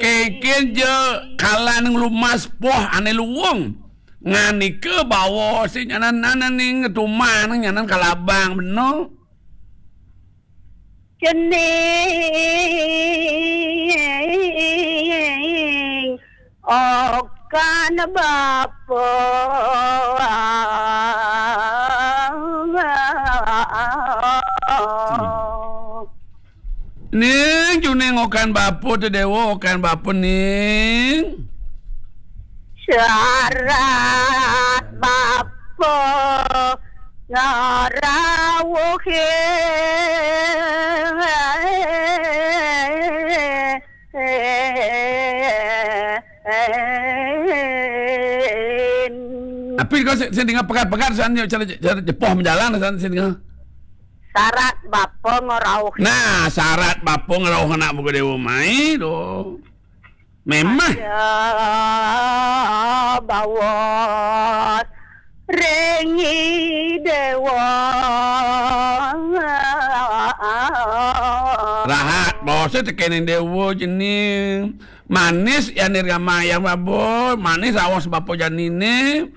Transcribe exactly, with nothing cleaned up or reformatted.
Kénkén ja kalan nglumas poh ané luung. Nganika bawa sing nyanan nyanan ning tuman nyanan kalabang bena. Cening okan bapa. Ning, cening okan bapa, te Déwa okan bapa, ning. Sarat bapa ngarauhin. Apa kau sing, sing dengar pegat-pegat, san, cara, cara jepoh menjalan, san, sing dengar. Sarat bapa ngerauh. Nah, sarat bapa ngerauh anak muka Déwa mai tu. Memang. Ya, bawa rengi Déwa. Rahat, bos, tekenin Déwa jening. Manis ya nirgama ya babo, manis awas bapa janine.